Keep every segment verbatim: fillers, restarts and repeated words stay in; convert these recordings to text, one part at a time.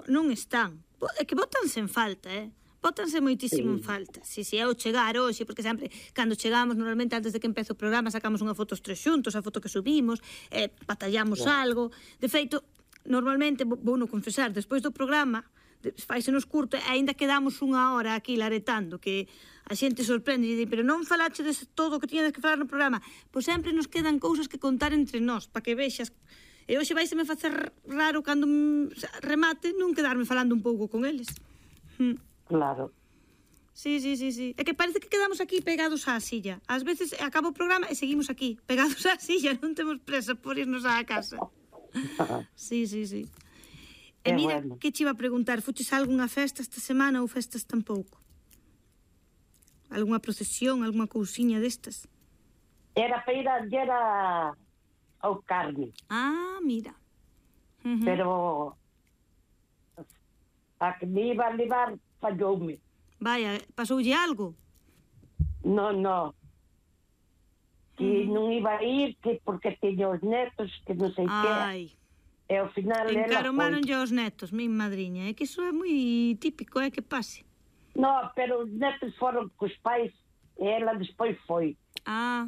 non están. É que botanse en falta, eh? Bótanse moitísimo sí. en falta. Si, si, é o chegar hoxe, porque sempre, cando chegamos, normalmente antes de que empece o programa, sacamos unha foto os tres xuntos, a foto que subimos, eh, batallamos yeah. algo. De feito, normalmente, vou non confesar, despois do programa, faise nos curto, e aínda quedamos unha hora aquí laretando, que a xente sorprende e di, pero non falache de todo o que tiñades que falar no programa. Pois sempre nos quedan cousas que contar entre nós, para que vexas. E hoxe vai se me facer raro cando remate non quedarme falando un pouco con eles. Claro. Sí, sí, sí, sí. É que parece que quedamos aquí pegados á silla. Ás veces acaba o programa e seguimos aquí, pegados á silla, non temos presa por irnos á casa. Sí, sí, sí. E mira, bueno. que che iba a preguntar, fuches a algunha festa esta semana ou festas tampouco? Algunha procesión, algunha cousiña destas? Era para ir a, era ao Carme. Ah, mira. Uh-huh. Pero a que me iba a levar falloume. Vaya, pasoulle algo? No, no. Que uh-huh. non iba a ir, que porque teña os netos, que non sei que. Ai. E ao final encaromaronlle aos netos, mi madriña. É que iso é moi típico, é que pase. No, pero os netos foron cos pais e ela despois foi. Ah.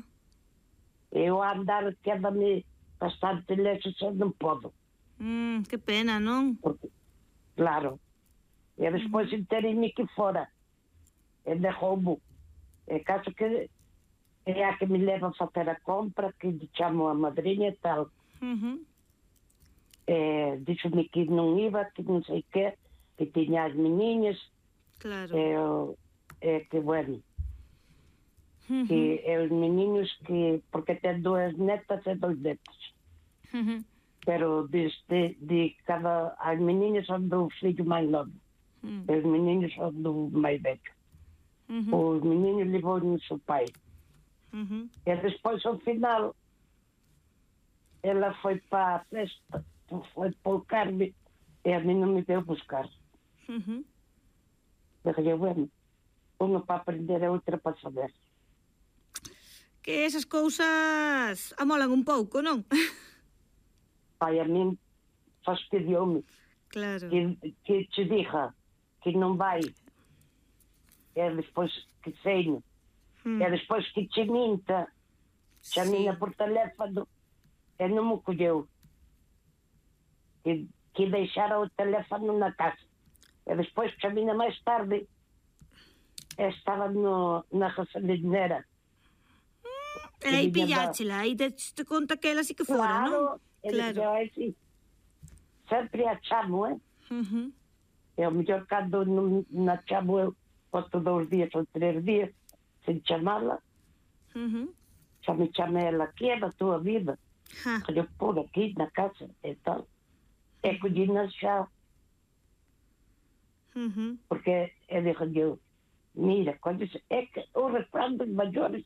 Eu a andar queda-me bastante lexo, se non podo. Mm, que pena, non? Porque, claro. E despois uh-huh. enterei-me que fora. E dejou-me. É caso que é a que me leva a facer a compra, que lhe chamo a madriña e tal. Mhm. Eh, dixo-me que non iba, que non sei que, que tiña as meniñas. Claro. É eh, que, bueno, uh-huh. que é os meniños que, porque ten dúas netas e dois netos. Uh-huh. Pero desde de cada, as meniñas son do filho máis novo. Uh-huh. E os meniños son do máis velho. Uh-huh. Os meniños levou no seu pai. Uh-huh. E despois, ao final, ela foi para a festa, foi para o Carme, e a mim non me deu buscar. Uh-huh. Dije, bueno, unha para aprender e outra para saber. Que esas cousas amolan un pouco, non? Pai, a min fastidioume. Claro. Que, que te diga que non vai, e despois que seino, hmm. e despois que te minta, chamina por teléfono, e non me colleu. Que, que deixara o teléfono na casa. E despois chamina máis tarde, e estaba no, na gasolinera. E aí pilláchela, aí te, te conta que ela sí que fora, claro, non? Claro, claro. Sempre a chamo, eh? Uh-huh. E ao mellor cando non na chamo eu, posto dous días ou tres días, sen chamala, uh-huh. xa me chame ela, que é da tua vida? Ha. Eu por aquí na casa e tal. E collina xa. Uh-huh. Porque e dixo eu, mira, cóllese, é que o refrán dos maiores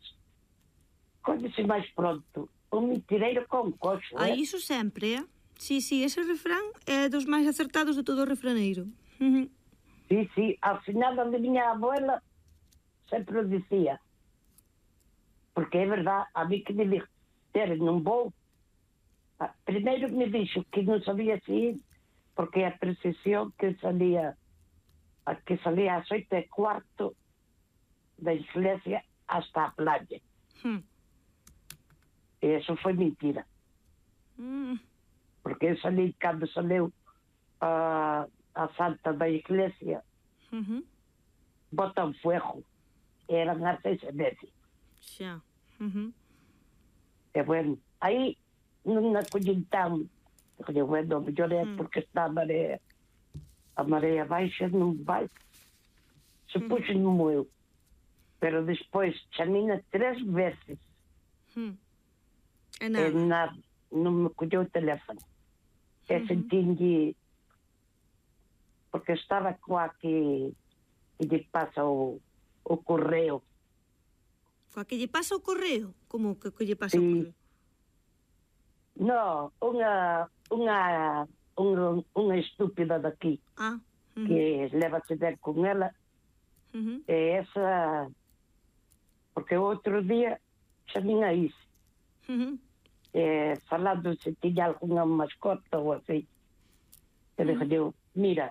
cóllese máis pronto. O mentireiro con coxo, ah, eh? iso sempre, eh? Sí, sí, ese refrán é dos máis acertados de todo o refraneiro. Uh-huh. Sí, sí, ao final onde miña abuela sempre o dicía. Porque é verdad, a mí que me dixo, Tere, non vou. Ah, primeiro me dixo que non sabía se ir, porque a precisión que salía, a que salía ás oito e cuarto da iglesia hasta a playa. Hmm. E eso foi mentira. Mm. Porque eu salí, cando saleu a, a santa da iglesia, uh-huh. bota un fuego. Eran as seis e media. Xa. Uh-huh. E bueno, aí non acollín tan. Digo, bueno, mellor é porque está a marea. A marea baixa non vai. Se puxo non moeu. Pero despois chamina tres veces. Hmm. E nada. E nada, non me colleu o teléfono. E uh-huh. sentinlle, porque estaba coa que, que lle pasa o, o correo. Coa que lle pasa o correo? Como que, que lle pasa sí. o correo? No, unha unha unha, unha estúpida daqui. Ah. Uh-huh. Que levase ben con ela. Uh-huh. E esa, porque o outro día chamín a Isi. Uh-huh. Eh, falando se tiña algunha mascota ou así. E dixo eu, mira,